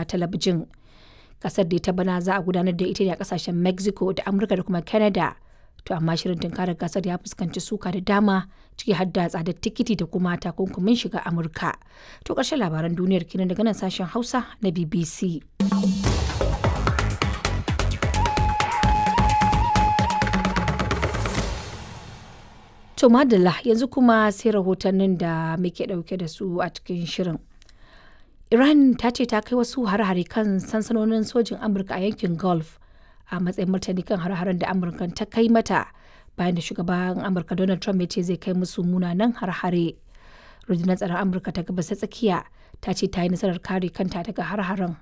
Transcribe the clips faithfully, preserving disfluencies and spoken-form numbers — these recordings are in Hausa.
talabijin. Gasar da ta bana za a gudanar da ita ne a kasashen Mexico da Amurka da kuma Canada. To amma shirin tunkarar gasar ya fuskanci suka da dama, ciki har da tsadar tikiti da kuma takunkumin shiga Amurka. To ƙarshen labaran duniyar kenan daga nan sashen Hausa na B B C. To madalla, yanzu kuma sai rahotannin da muke ɗauke da su a cikin shirin. Iran ta ce ta kai wasu hare-hare kan sansanonin sojin Amurka a yankin Gulf a matsayin martani kan hare-haren da Amurka ta kai mata, bayan da shugaban Amurka Donald Trump ya ce zai kai musu munanan hare-hare. Rundunar tsaron Amurka ta Gabas ta Tsakiya ta ce ta yi nasarar kare kanta daga hare-haren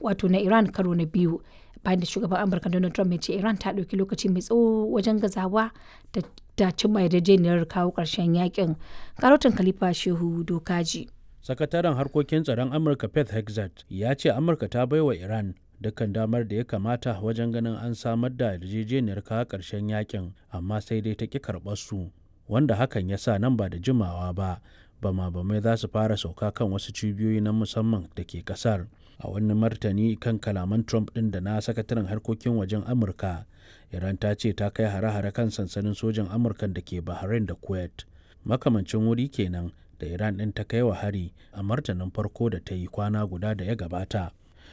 wato na Iran karo na biyu, bayan da shugaban Amurka Donald Trump ya ce Iran ta ɗauki lokaci mai tsawo wajen gazawa da da cimma yarjejeniyar kawo ƙarshen yakin. Karotin Khalifa Shehu Dokaji. Sakataren harkokin tsaron Amurka Pete Hegseth ya ce Amurka ta baiwa Iran dukkan damar da ya kamata wajen ganin an samar da yarjejeniyar kawo ƙarshen yakin, amma sai dai ta ƙi karɓar su, wanda hakan ya sa nan ba da jimawa ba bama bamai za su fara sauka kan wasu cibiyoyi na musamman da ke kasar. A wani martani kan kalaman Trump ɗin da na sakataren harkokin wajen Amurka, Iran ta ce ta kai hare-hare kan sansanin sojan Amurka da ke Bahrain da Kuwait, makamancin wuri kenan da Iran ɗin ta kai wa hari a martanin farko da ta yi kwana guda da ya gabata.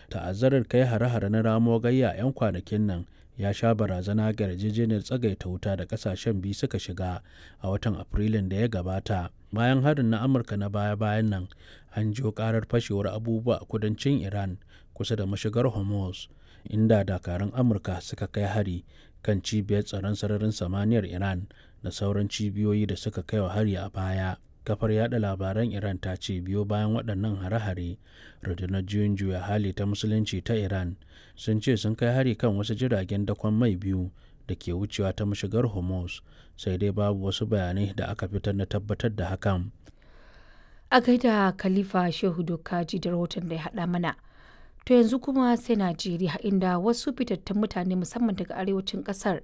Ta'azzarar kai hare-hare na ramo gayya 'yan kwanakin nan ya sha barazana ga yarjejeniyar tsagaita wuta da kasashen biyu suka shiga a watan Afrilun da ya gabata. Bayan harin na Amurka na baya-bayan nan, an jiyo karar fashewar abubuwa a kudancin Iran kusa da mashigar Hormuz, inda dakarun Amurka suka kai hari kan cibiyar tsaron sararin samaniyar Iran da sauran cibiyoyi da suka kai wa hari a baya. Kafar yada labaran Iran ta ce biyo bayan waɗannan hare-hare, rundunar juyin juya hali ta Musulunci ta Iran sun ce sun kai hari kan wasu jiragen dakon mai biyu da ke wucewa ta mashigar Hormuz, sai dai babu wasu bayanai da aka fitar na tabbatar da hakan. A gaida Khalifa Shehu Dokaji da rahoton da ya haɗa mana. To yanzu kuma sai Najeriya, inda wasu fitattun mutane, musamman daga arewacin ƙasar,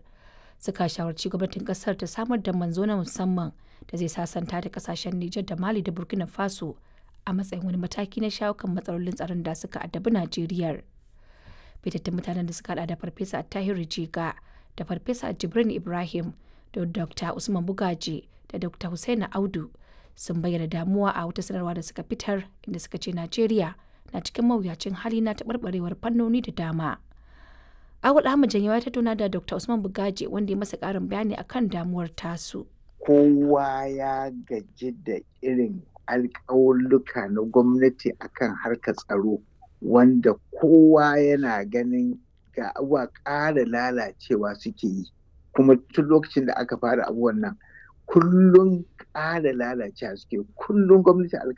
suka shawarci gwamnatin kasar ta samar da manzo na musamman da zai sasanta da kasashen Nijar da Mali da Burkina Faso a matsayin wani mataki na shawo kan matsalolin tsaron da suka addabi Najeriya. Fitattun mutanen da suka hada da Farfesa Tahiru Jiga da Farfesa Jibrin Ibrahim da Dokta Usman Bugaji da Dokta Hussaina Audu sun bayyana damuwa a wata sanarwa da suka fitar, inda suka ce Najeriya na cikin mawuyacin hali na taɓarɓarewar fannoni da dama. Awul Ahmad Janyawa ya tattauna da Dokta Usman Bugaje, wanda ya masa ƙarin bayani akan damuwar tasu. Kowa ya gaji da irin alƙawulluka na gwamnati akan harkar tsaro, wanda kowa yana ganin ga abubuwa ƙara lalacewa suke yi. Kuma tun lokacin da aka fara abubuwan nan, kullum ƙara lalacewa suke, kullum gwamnati alƙawari